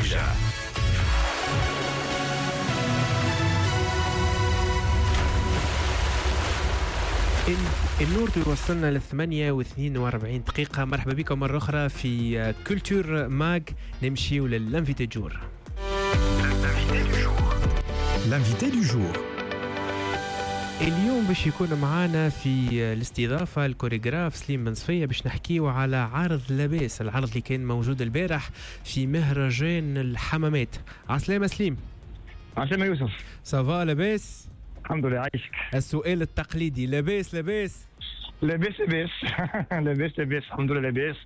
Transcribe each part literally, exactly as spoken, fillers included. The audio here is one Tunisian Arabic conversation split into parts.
الموجة. النور توصلنا للثمانية واثنين وأربعين دقيقة. مرحبا بكم مرة أخرى في Culture Mag. نمشيو لل invité du jour. L'invité du jour. اليوم باش يكون معانا في الاستضافة الكوريغراف سليم بن صفية باش نحكيو على عرض لاباس، العرض اللي كان موجود البارح في مهرجان الحمامات. عسلامة سليم. عسلامة يوسف. ça va لاباس؟ الحمد لله عايشك. السؤال التقليدي، لاباس لاباس؟ لاباس لاباس لاباس لاباس الحمد لله لاباس.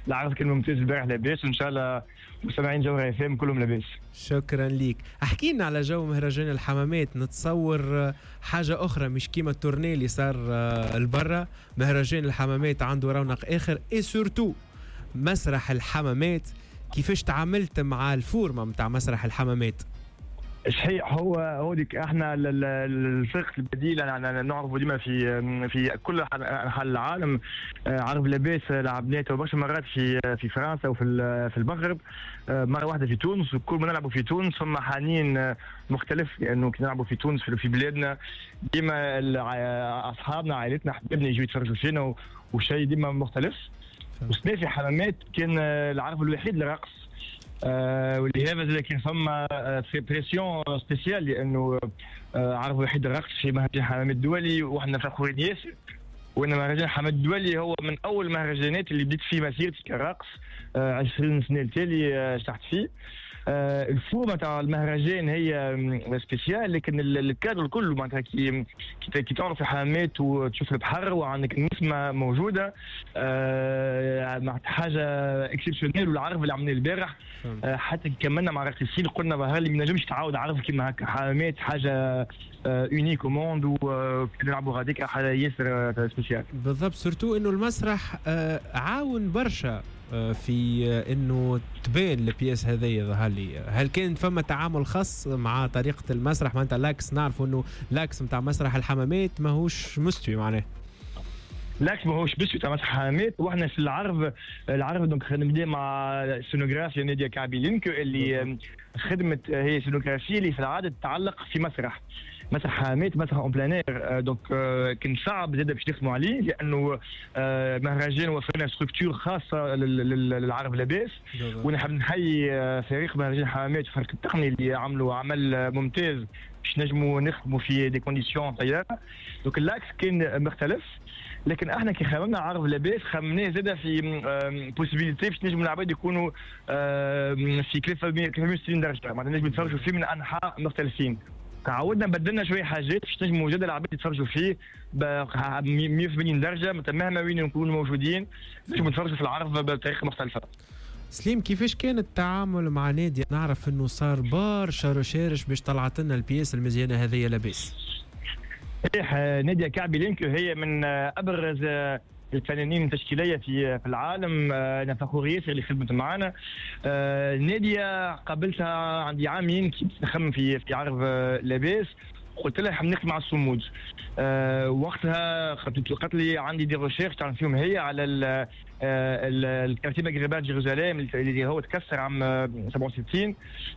العرض كان ممتاز البارح لاباس، وان شاء الله مستمعين جوهرة اف ام كلهم لاباس. شكرا ليك. احكي لنا على جو مهرجان الحمامات، نتصور حاجة اخرى مش كيما ال tournée اللي صار البرة. مهرجان الحمامات عنده رونق اخر، et surtout مسرح الحمامات. كيفاش تعاملت مع ال forme نتاع مسرح الحمامات؟ صحيح، هو هو ديك احنا الفرق البديل نعرفوا ديما في في كل انحاء العالم. عرض لاباس لعبناه برشا مرات في في فرنسا وفي في المغرب، مرة واحدة في تونس. وكل ما نلعبوا في تونس فما حنين مختلف، لانه كي نلعبوا في تونس في بلادنا ديما اصحابنا عائلتنا حبابنا يجوا يتفرجوا فينا، وشيء ديما مختلف. وسنا في حمامات كان العرض الوحيد للرقص، آه واللي هذا كان فما pression spéciale، لانه آه عرض وحيد الرقص في مهرجان حمامات الدولي، وحنا فخورين ياسر. وان مهرجان حمامات الدولي هو من اول المهرجانات اللي بديت فيه مسيرتي كرقص، آه عشرين سنة التالي آه شرحت فيه. آه ال forme تاع المهرجان هي spéciale، لكن الكادر الكل معناتها كي كي تعرف الحمامات وتشوف البحر وعندك النسمه موجودة، آه معناتها حاجة exceptionnelle. والعرض اللي عملناه البارح آه حتى كملنا مع الراقصين قلنا ظهر لي ما نجمش تعاود عرض كيما هكا. حمامات حاجة unique au monde، ونلعبوا غاديك حاجة ياسر spéciale. بالضبط، surtout انه المسرح آه عاون برشا في انه تبان ال pièce هذيا. ظهر لي هل كان فما تعامل خاص مع طريقه المسرح؟ معناتها l'axe، نعرفوا انه l'axe نتاع مسرح الحمامات ماهوش مستوي، معناه l'axe ماهوش مستوي تاع مسرح الحمامات. واحنا في العرض العرض donc نبدا مع السينوغرافيا ناديه كعبي لينكو اللي خدمت هي سينوغرافيا اللي في العادة تتعلق في مسرح مسرح حمامات، مسرح en plein air. donc كان صعب زاد باش نخدموا عليه، لانه مهرجان وفرنا structure خاصة للعرض لاباس. ونحب نحيي فريق مهرجان حمامات وفريق التقني اللي عملوا عمل ممتاز باش نجموا نخدموا في des conditions طيارة. donc l'axe كان مختلف، لكن احنا كي خممنا عرض لاباس خممناه زاد في possibilité باش نجموا العباد يكونوا في ثلاثمية وستين درجه، معناتها نجموا يتفرجوا فيه من انحاء مختلفين. تعودنا بدلنا شوية حاجات باش نجموا زاد العباد يتفرجوا فيه ب مية وثمانين درجه، مهما وين نكونوا موجودين نجموا نتفرجوا في العرض بطريقة مختلفة. سليم، كيفاش كان التعامل مع نادية؟ نعرف انه صار برشا recherches باش طلعت لنا ال pièce المزيانه هذه لاباس. صحيح، نادية كعبي لينكو هي من ابرز الفنانين التشكيليه في في العالم. انا فخور ياسر اللي خدمت معنا. نادية قابلتها عندي عامين كي نخمم في في عرض لاباس، قلت لها نخدم مع الصمود. أه وقتها قالت لي عندي des recherches تعمل فيهم هي على ال quartier maghrébin Jérusalem اللي هو تكسر عام سبعة وستين.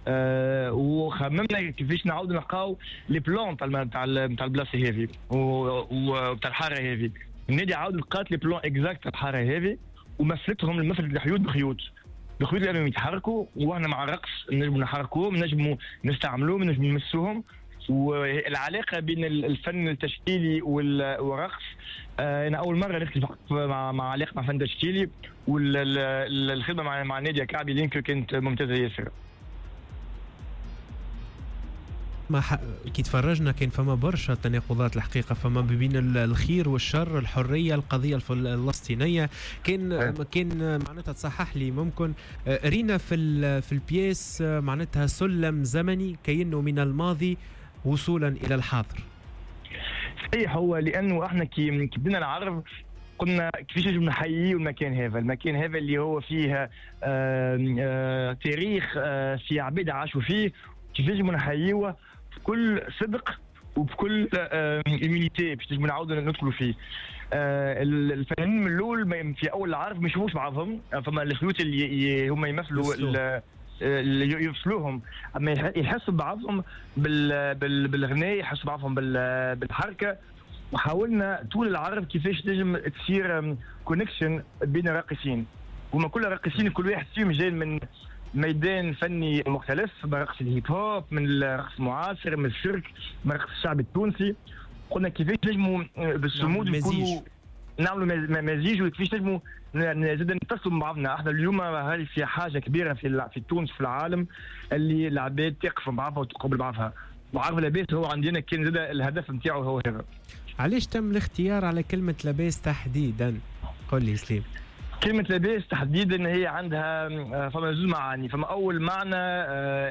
أه وخممنا كيفاش نعاودوا نلقاو les plans تاع تاع البلاصة هذه وتاع الحارة هذه. النادي عاود لقات les plans exacts تاع الحارة هذه ومثلتهم المثل الحيوط بخيوط بخيوط لانهم يتحركوا، واحنا مع الرقص نجموا نحركوهم، نجموا نستعملوهم، نجموا نمسوهم. والعلاقة بين الفن التشكيلي والرقص، انا اول مرة نخدم مع مع علاقة مع فن تشكيلي، والخدمة مع مع نادية كعبي لينكو كانت ممتازة ياسر. ما ح... كي تفرجنا كان فما برشا تناقضات الحقيقة، فما بين الخير والشر، الحرية، القضية الفلسطينية. كان كان معناتها تصحح لي ممكن، رينا في ال... في ال pièce معناتها سلم زمني كأنه من الماضي وصولا الى الحاضر. صحيح، هو لانه احنا كي بدنا العرض قلنا كيفاش نجم نحييه المكان هذا، المكان هذا اللي هو فيه آآ آآ تاريخ في عباد عاشوا فيه، كيفاش نجم نحييه بكل صدق وبكل humilité باش نجموا نعاودوا ندخلوا فيه. الفنانين من الاول في اول العرض ما يشوفوش بعضهم، فما الخيوط اللي هما يمثلوا يفصلوهم، اما يحسوا بعضهم بالغناء، يحسوا بعضهم بالحركة. وحاولنا طول العرض كيفاش تنجم تصير connexion بين الراقصين، هما كل راقصين كل واحد فيهم جاي من ميدان فني مختلف، من رقص الهيب هوب، من الرقص المعاصر، من السيرك، من الرقص الشعبي التونسي. قلنا كيفاش نجموا بالصمود نكونوا نعملوا مزيج، وكيفاش نجموا زاد نتصلوا مع بعضنا. احنا اليوم هذه في حاجة كبيرة في في تونس في العالم اللي العباد تقف مع بعضها وتقبل بعضها. وعرض لاباس هو عندنا كان زاد الهدف نتاعو هو هذا. علاش تم الاختيار على كلمة لاباس تحديدا؟ قل لي سليم. كلمة لاباس تحديدا هي عندها فما زوج معاني. فما أول معنى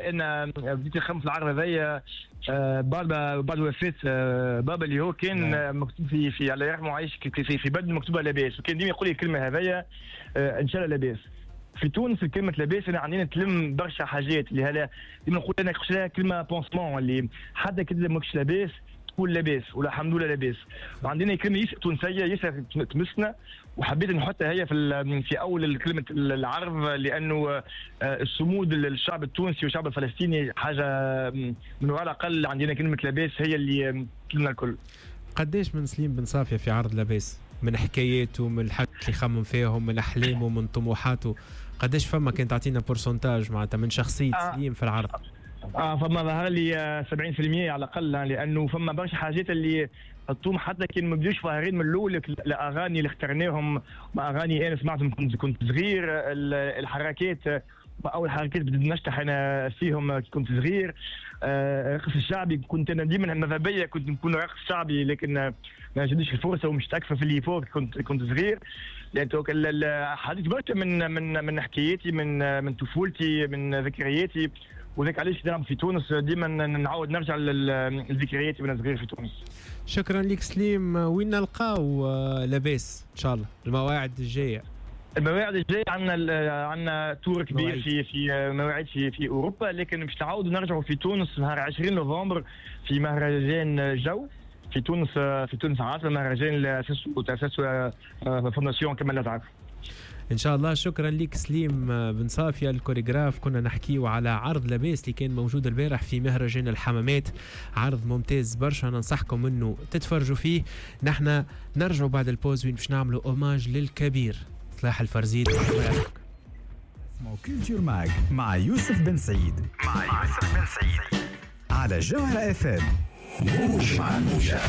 أنا بديت نخمم في العرض هذايا بعد بعد وفاة بابا اللي هو كان مكتوب في في الله يرحمه عايش في في بدن مكتوبة لاباس، وكان ديما يقول لي الكلمة هذايا إن شاء الله لاباس. في تونس كلمة لاباس أنا عندنا تلم برشا حاجات اللي هلا ديما نقول أنا كلمة pansement اللي حتى كي ماكش لاباس تقول لاباس ولا الحمد لله لاباس. وعندنا كلمة ياسر تونسية ياسر تمسنا، وحبيت نحطها هي في في اول كلمة العرض، لانه الصمود للشعب التونسي والشعب الفلسطيني حاجة من وراء الاقل عندنا كلمة لاباس هي اللي تلمنا الكل. قداش من سليم بن صافية في عرض لاباس، من حكاياته، من الحاجات اللي يخمم فيهم، من احلامه، من طموحاته، قداش فما كان تعطينا pourcentage معناتها من شخصية آه. سليم في العرض؟ اه فما ظهر لي سبعين بالمية على الاقل، لانه فما برشا حاجات اللي حطوهم حتى كي ما بدوش ظاهرين من الاول. الاغاني اللي اخترناهم اغاني انا سمعتهم كنت كنت صغير، الحركات اول حركات بديت نشطح انا فيهم كي كنت صغير، الرقص الشعبي كنت انا ديما ماذا بيا كنت نكون رقص شعبي، لكن ما جاتنيش الفرصة ومش اكثر في اللي كنت كنت صغير. لان حديث برشا من من من حكاياتي، من من طفولتي، من ذكرياتي، وذاك علاش نلعب في تونس ديما نعاود نرجع لذكرياتي وانا صغير في تونس. شكرا لك سليم. وين نلقاو لاباس ان شاء الله المواعيد الجاية؟ المواعيد الجاية عندنا عندنا tour كبير في في مواعيد في في اوروبا، لكن باش نعاودوا نرجعوا في تونس نهار عشرين نوفمبر في مهرجان جو في تونس، في تونس عاصمة، مهرجان اللي اسسه تاسسه fondation كمال لزعر. ان شاء الله. شكرا لك سليم بن صافية الكوريغراف. كنا نحكيو على عرض لاباس اللي كان موجود البارح في مهرجان الحمامات، عرض ممتاز برشا، ننصحكم انه تتفرجوا فيه. نحن نرجعوا بعد ال pause وين باش نعملوا hommage للكبير صلاح الفرزيت. اسمه Culture Mag مع يوسف بن سعيد، مع يوسف بن سعيد على جوهرة اف ام. موجة.